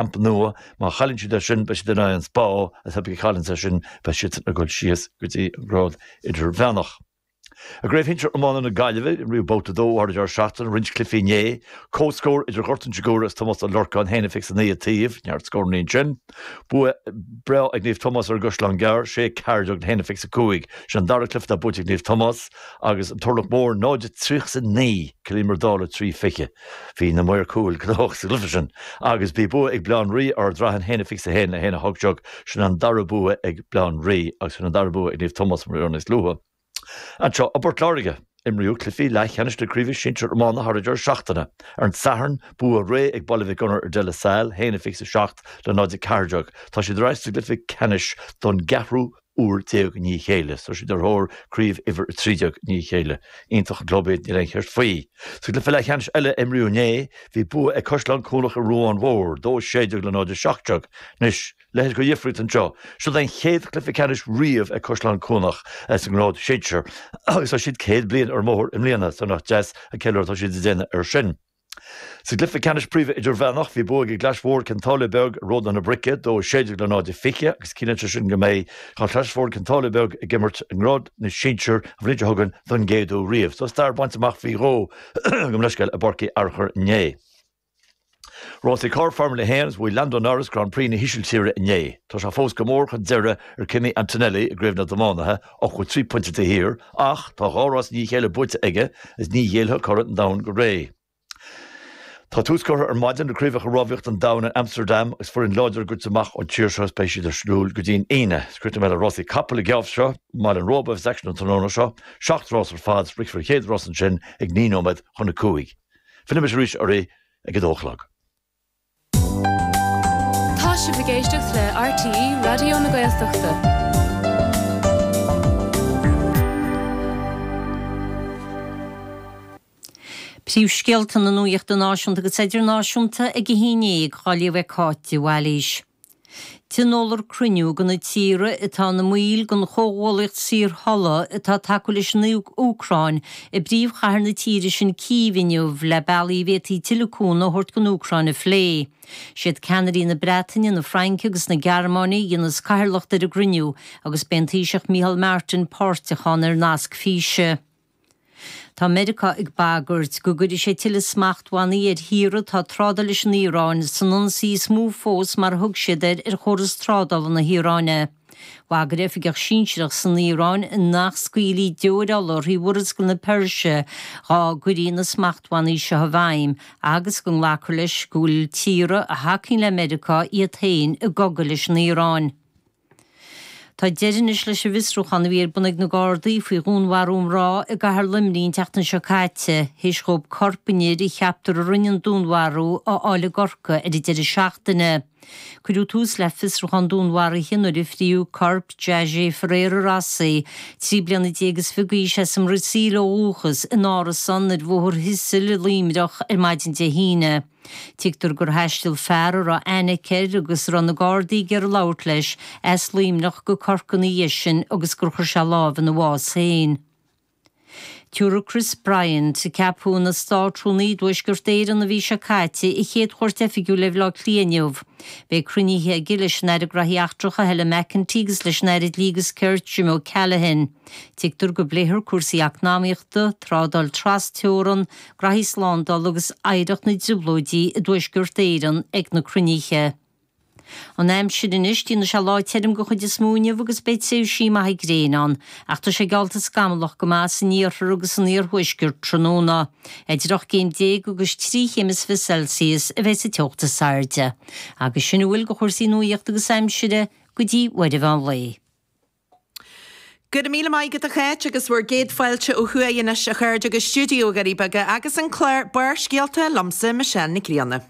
Camp Nou. Má chailleann siad é sin, beidh siad in aghaidh an Spa, agus pé a chailleanns é sin, beidh siadsan ag dul síos go dtí an grád idirmheánach. I gCraobh Shinsir Iomána na Gaillimhe, imríodh Babhta 2 thar an deireadh seachtaine, roinnt cluichí inné. Comhscór idir Ghort an tSigiúra agus Tomás Ó Lorcáin, 1-29 an taobh, neart scóranna ansin. Bua breá ag Naomh Tomás ar an gCaisleán Gearr, 6 14 le 1-25. Sin an dara cluiche atá buaite ag Naomh Tomás agus an Turlach Mór 0-39, Cill Íomair Dála 3-20. Bhí na maoir cúil gnóthach sa gcluiche sin agus bhí bua ag Baile Átha an Rí ar Ard Raithin, 1-21 le 1-18. Sin an dara bua ag Baile Átha an Rí agus sin an dara bua ag Naomh Tomás mar a dúradh níos luaithe. Anseo i bPort Láirge, imríodh cluichí leathcheannais na Craoibhe Sinsir Iomána thar an deireadh seachtaine. Ar an Satharn, bua réidh ag Baile Mhic Gonair ar De La Salle, 1-27 le 0-14. Tá siad ar ais sa gcluiche ceannais don gceathrú uair déag i ndiaidh a chéile. Tá siad ar thóir craobh uimhir 13 i ndiaidh a chéile. Iontach an club iad, níl aon cheist faoi. Sa gcluiche leathcheannais eile a imríodh inné, bhí bua ag Caisleán Cuanach ar Ruán Mhór, 2-16 le 0-17. Anois, leithéid de dhifríocht anseo. Seo é an chéad chluiche ceannais riamh ag Caisleán Cuanach sa ngrád sinsir agus tá siad 100 bliain ar an mbóthar i mbliana, so nach deas an ceiliúradh atá siad ag déanamh air sin. Sa gcluiche ceannais príomha idirmheánach, bhí bua ag an gClais Mhór Cionn tSáile Beag ar Ródán na Broice, 2 16 le 0 20, agus ciallaíonn sé sin go mbeidh an Chlais Mhór Cionn tSáile Beag ag imirt i ngrád na sinsear an bhliain seo chugainn don gcéad uair riamh. So stair bainte amach faoi dhó gabh mo leithscéal i bPáirc Uí Fhearchair inné. Rásaí Carr Formula 1 agus bhuaigh Lando Norris Grand Prix na hÍsiltíre inné. Tá sé fós go mór chun deiridh ar Kimi Antonelli i gcraobh na dtiománaithe, 83 pointe taobh thiar, ach tá dhá rás i ndiaidh a chéile buaite aige agus ní ghéillfeadh curaidh an domhain go réidh. Tá tús curtha ar maidin le Craobhacha Rámhaíochta an Domhain in Amsterdam agus foireann láidir ag goil amach ón tír seo agus beidh siad ar siúl go dtí'n Aoine. Críochnóidh mé le rásaí capall an geábh seo i mBaile an Róba a bheas aicsean an tráthnóna seo. Seacht rás ar fad, rithfear an chéad rás ansin ag 9 nóiméad chun a 5. Fillfidh mise arís oraibh ag a dó a chlog. Tá sibh ag éisteacht le RTÉ Raidió na Gaeltachta. Príomhscéalta na nuachta náisiúnta agus idirnáisiúnta ag a haon dhéag á léamh ag Cáit de Bhailís. Tionólfar cruinniú de na tíortha atá ina mbaill den Chomhghuallaíocht Saorthola atá ag tacú leis an Úcráin i bpríomhchathair na tíre sin Cív inniu le bealaí a bhféadfaí tuilleadh cúnamh a thabhairt don Úcráin a phlé. Siad ceannairí na Breataine, na Fraince agus na Gearmáine a dhéanfas cathaoirleacht ar an gcruinniú agus beidh an Taoiseach Micheál Martin páirteach ann ar nasc físe. Tá Meiriceá ag bagairt go gcuirfidh sé tuilleadh smachtbhannaí ar thíortha atá ag trádáil leis an Iaráin san ionsaí is mó fós mar a thug siad air ar chóras trádála na hIaráine. Bhagair oifigeach sinsearach san Iaráin nach scaoilfí deoir ola thrí Mhurascaill na Peirse dá gcuirí na smachtbhannaí seo i bhfeidhm agus go nglacfar leis go bhfuil tíortha a thacaíonn le Meiriceá iad féin i gcogadh leis an Iaráin. Tá deireadh anois leis an bhfiosrúchán a bhí ar bun ag na Gardaí faoi dhúnmharú mná i gcathair Luimnigh an tseachtain seo caite, théis dhóibh corp an fhir a cheaptar a rinne an dúnmharú a fháil i gCorcaigh ar an deireadh seachtaine. Cuireadh tús le fiosrúchán dúnmharaithe nuair a fríodh corp Jayge Ferreira Rossi, 13 bliana is fiche d'aois as an mBrasaíl ó dhúchas, in árasán ar Bhóthar Thistle i Luimneach ar maidin Dé hAoine. Tuigtear gur thaistil fear a raibh aithne aici air agus a raibh na Gardaí ag iarraidh labhairt leis, as Luimneach go Corcaigh ina dhiaidh sin agus gur chuir sé lámh ina bhás féin. Tabharfaidh Chris Bryant, a ceapadh ina Státrúnaí i dTuaisceart Éireann an mhí seo caite, a chéad chuairt oifigiúil ar Bhaile Átha Cliath inniu. Beidh cruinnithe aige leis an Aire Graithí Eachtracha Helen McEntee agus leis an Aire Dlí agus Cirt Jim O'Callaghan. Tuigtear go bpléifear cúrsaí eacnamaíochta, trádáil tras-teorann, graithí slándála agus oidhreacht na dTrioblóidí i dTuaisceart Éireann ag na cruinnithe. An aimsir anois, déanfaidh sé lá tirim den chuid is mó inniu agus beidh tréimhsí maithe gréine ann, ach tá sé geallta scamallach go maith san iarthar agus san iarthuaisceart tráthnóna. Idir 18 céim agus 3 chéim is fiche Celsius a bheidh sa teocht is airde. Agus sin a bhfuil de chúrsaí nuachta agus aimsire go dtí uair an mheán lae. Go raibh míle maith agat a Cháit agus bhur gcéad fáilte ó thuaidh anois a chairde go stiúideo Dhoirí Beaga agus an clár Barrscéalta liomsa Michelle Nic Grianna.